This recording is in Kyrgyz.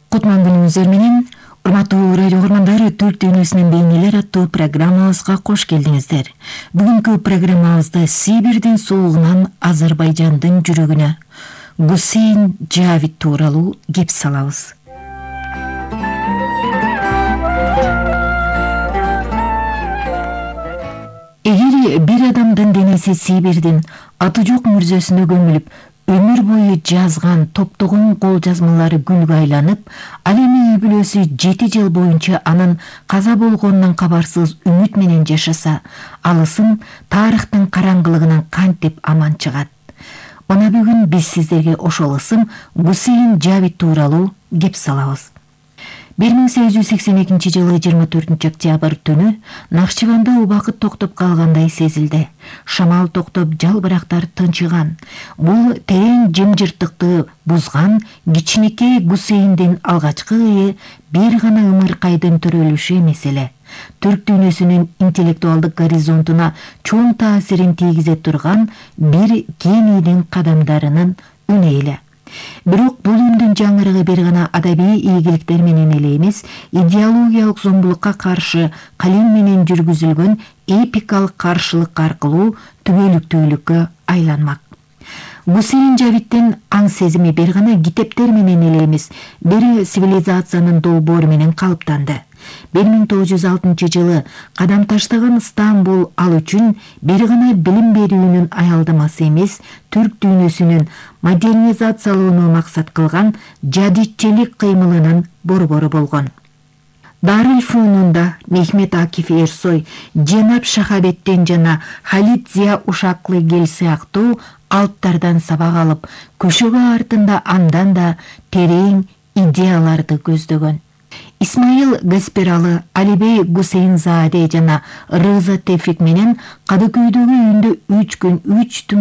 Кутман күнүңүздөр менен, урматтуу радио көргөндөр, Түрк дүйнөсүнүн бейнелер аттуу программабызга кош келдиңиздер. Бүгүнкү программабызда Сибирдин суугунан Азербайжандын жүрөгүнө Гусейн Жавид тууралуу кеп салабыз. Эгер бир адамдын денеси Сибирдин аты жок мүрзөсүнө көмүлүп, өмүр бою жазган топтогон кол жазмалары гүлгө айланып, ал эми үй бүлөсү 7 жыл боюнча анын каза болгонунан кабарсыз үмүт менен жашаса, алысын тарыхтын караңгылыгынан кантип аман чыгат? Мына бүгүн биз сиздерге ошол ысым Гусейн Жавид тууралуу кеп салабыз. 1882 жылы 24 октябрь түнү Нахчыванда убакыт токтоп калгандай сезилди. Шамал токтоп, жалбырактар тынчыган. Бул терең жымжырттыкты бузган кичинекей Гусейндин алгачкы ые бир гана ымыркайдын төрөлүшү эмес эле. Түрк дүйнөсүнүн интеллектуалдык горизонтуна чоң таасирин тийгизе турган бир кең ийдин кадамдарынын үнү эле. Бирок бул үндүн жаңырыгы бир гана адабий ийгиликтер менен эле эмес, идеологиялык зомбулукка каршы калем менен жүргүзүлгөн эпикалык каршылык аркылуу түбөлүктүүлүккө айланмак. Гусейн Жавиддин аң сезими бир гана китептер менен эле эмес, бир цивилизациянын долбоору менен калыптанды. 1906 жылы кадам таштаган Стамбул ал үчүн бир гана билим берүүнүн аялдамасы эмес, түрк дүйнөсүнүн модернизациялоону максат кылган жадидчилик кыймылынын борбору болгон. Дарыл-Фунунда Мехмет Акиф Эрсой, Женап Шахабеттен жана Халид Зия Ушаклы гел сыяктуу алыптардан сабак алып, көшөгө артында андан да терең идеяларды көздөгөн. Исмаил Гаспиралы, Алибей Гусейнзаде жана Рыза Тевфик менен Кадыкөйдөгү үйүндө 3 күн 3 түн